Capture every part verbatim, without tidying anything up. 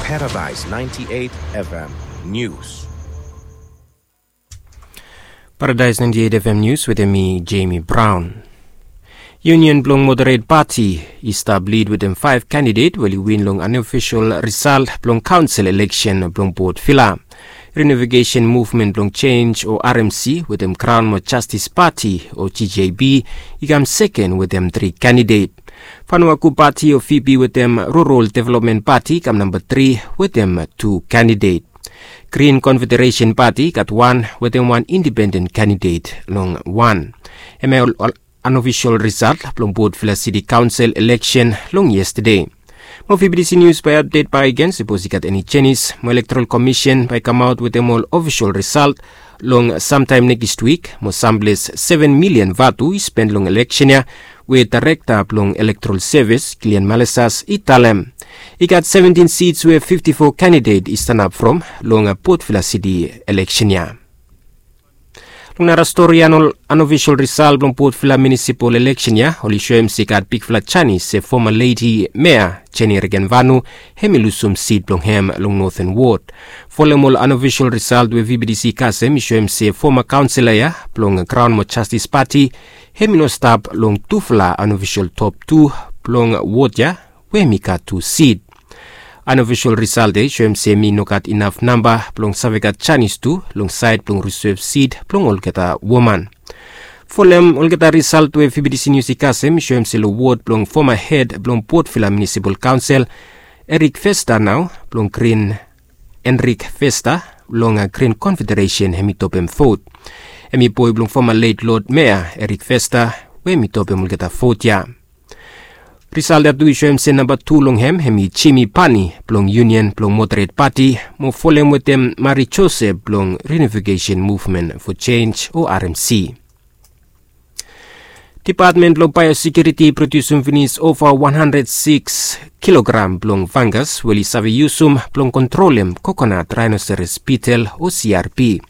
Paradise ninety-eight F M News. Paradise ninety-eight F M News wetem mi, Jamie Brown. Union blong Moderate Party i stap lid wetem faef kandidet we oli win long anofisol risalt blong kaonsel eleksen blong Port Vila. Reunification Movement blong Change o R M C wetem Crown mo Justice Party o G J B i kam seken wetem tri kandidet. Vanuaku Party o V P wetem Rural Development Party i kam namba tri wetem tu kandidet. Green Confederation Party i gat wan wetem wan independent kandidet long wan. Hemia ol, ol anofisol risalt blong Port Vila City Kaonsel eleksen long yestade. Mo V B T C News bae i apdet bak agen sapos i gat eni jenis. Mo Electoral Commission bae i kamaot wetem ol ofisol risalt long samtaem nekis wik. Mo samples seven milian vatu i spen long eleksen ya, we Daerekta blong Electoral Service, Gillian Malesas, i talem. I gat seventin seats we fifti fo kandidet i stanap from long Port Vila City eleksen ya. Long nara stori ya, ol anofisol risalt blong Port Vila Munisipal eleksen ya oli soem se i gat bigfala janis se foma ledi mea Jenny Regenvanu hemi lusum sit blong hem long Northern Ward. Folem ol anofisol risalt we V B T C i kasem i soem se foma kaonsela ya blong Crown mo Justice Party hemi no stap long tufala anofisol top tu blong ward ya we hemi gat tu sit. Anofisol risalt ya i soem se hemi no gat inaf namba blong save gat janis tu long saed blong risev sit blong olgeta woman. Folem olgeta risalt we V B T C News i kasem i soem se long wod blong foma hed blong Port Vila Munisipal Kaonsel, Eric Vesta nao blong Green, Enric Vesta long Green Confederation hemi topem vot. Hemi boe blong foma let Lod Mea Eric Vesta we hemi topem olgeta vot ya. Risalt ya tu i soem se namba tu long hem hemi Jimmy Pani blong Union blong Moderate Party mo folem wetem Mari Joseph blong Reunification Movement for Change o R M C. Depatmen blong Baeosekiuriti i prodiusum finis ova wan handred sikis kilogram blong fangas we oli save yusum blong kontrolem kokonat raenoseros bitel o C R B.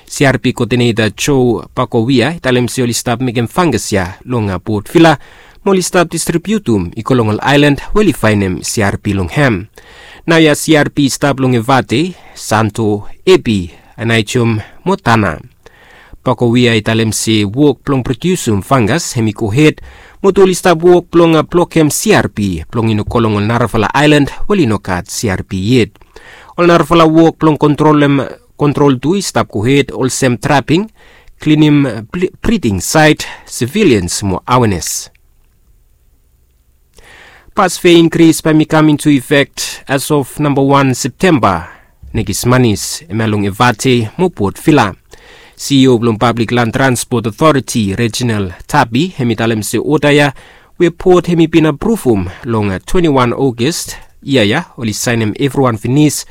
C R B koodineta Joe Pakowia i talem se oli stap mekem fangas ya long Port Vila mo oli stap distribiutum i go long ol aelan we oli faenem C R B long hem. Naoia C R B i stap long Evate, Santo, Ebi, Aneityum mo Tana. Pakowia i talem se wok blong prodiusum fangas hemi gohed mo tu oli stap wok blong blokem C R B blong i no go long ol narafala aelan we oli no gat C R B yet. Ol narafala wok blong kontrolem, kontrol tu i stap gohed olsem traping, klinim briding saet, sivilians mo awenes. Pas fea inkris bae i kam intu ifek as of namba wan Septemba nekis manis, hemia long Evate mo Port Vila. CEO blong Public Land Transport Authority, Reginald Tapi, hemi talem se oda ya we Port hemi bin apruvum long twenti wan Ogos yia ya oli saenem evriwan finis,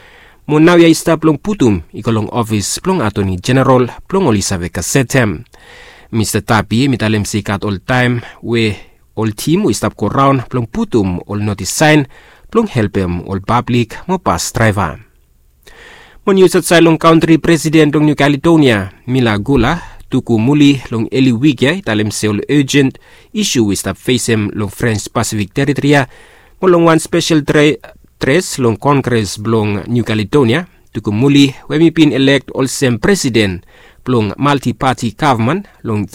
mo naoia i stap blong putum i go long ofis blong Atoni Jeneral blong oli save gasetem. Mista Tapi hemi talem se i gat ol taem we ol tim we i stap goraon blong putum ol notis saen blong helpem ol pablik mo bas draeva. Mo nius aotsaed long kantri, Presiden blong Niu Kaledonia, Mila Gula, Tuku Muli long eli wik ya i talem se ol ejen isu we i stap fesem long Frens Pasifik Teritori ya mo long wan spesel dres long Kongres blong Niu Kaledonia, Tuku Muli we hemi bin elek olsem presiden blong maltipati gavman long